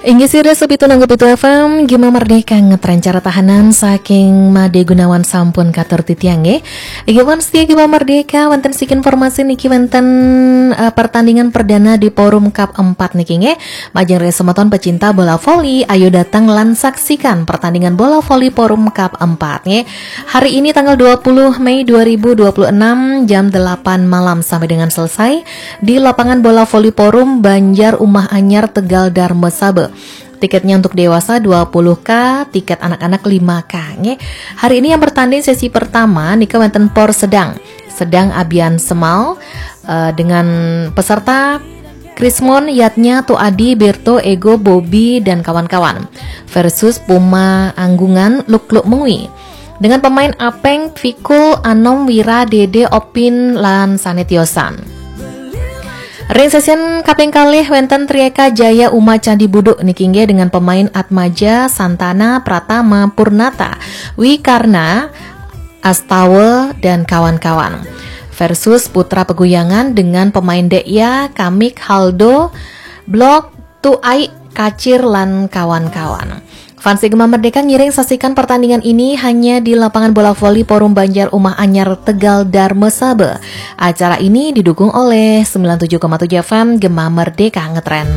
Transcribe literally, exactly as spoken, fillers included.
Inggih sira sopi tunanggo pitu F M, Gema Merdeka ngetren cara tahanan saking Made Gunawan sampun katur titiang nggih. Inggih wan setia Gema Merdeka, wonten siki informasi niki wonten eh, pertandingan perdana di Forum Cup empat niki nggih. Majeng ring semeton pecinta bola voli, ayo datang lan saksikan pertandingan bola voli Forum Cup empat nggih. Hari ini tanggal dua puluh Mei dua ribu dua puluh enam jam delapan malam sampai dengan selesai di lapangan bola voli Forum Banjar Umah Anyar Tegal Darmasaba. Tiketnya untuk dewasa dua puluh K, tiket anak-anak lima K nggih. Hari ini yang bertanding sesi pertama nika wonten Por Sedang. Sedang Abian Semal eh, dengan peserta Krismon, Yatnya, Tu Adi, Berto, Ego, Bobby, dan kawan-kawan versus Puma Anggungan, Luk Luk Mengwi. Dengan pemain Apeng, Fikul, Anom, Wira, Dede, Opin, lan Sanetiosan. Ring sesien kaping kalih wonten Trieka Jaya Uma Candi Buduk niki nggih dengan pemain Atmaja, Santana, Pratama, Purnata, Wikarna, Astawa, dan kawan-kawan. Versus Putra Peguyangan dengan pemain Dekya, Kamik, Haldo, Blok, Tuai, Kacir, lan kawan-kawan. Fans Gema Merdeka ngiring saksikan pertandingan ini hanya di lapangan bola voli Forum Banjar Umah Anyar Tegal Darmasaba. Acara ini didukung oleh sembilan tujuh koma tujuh F M Gema Merdeka Ngetren.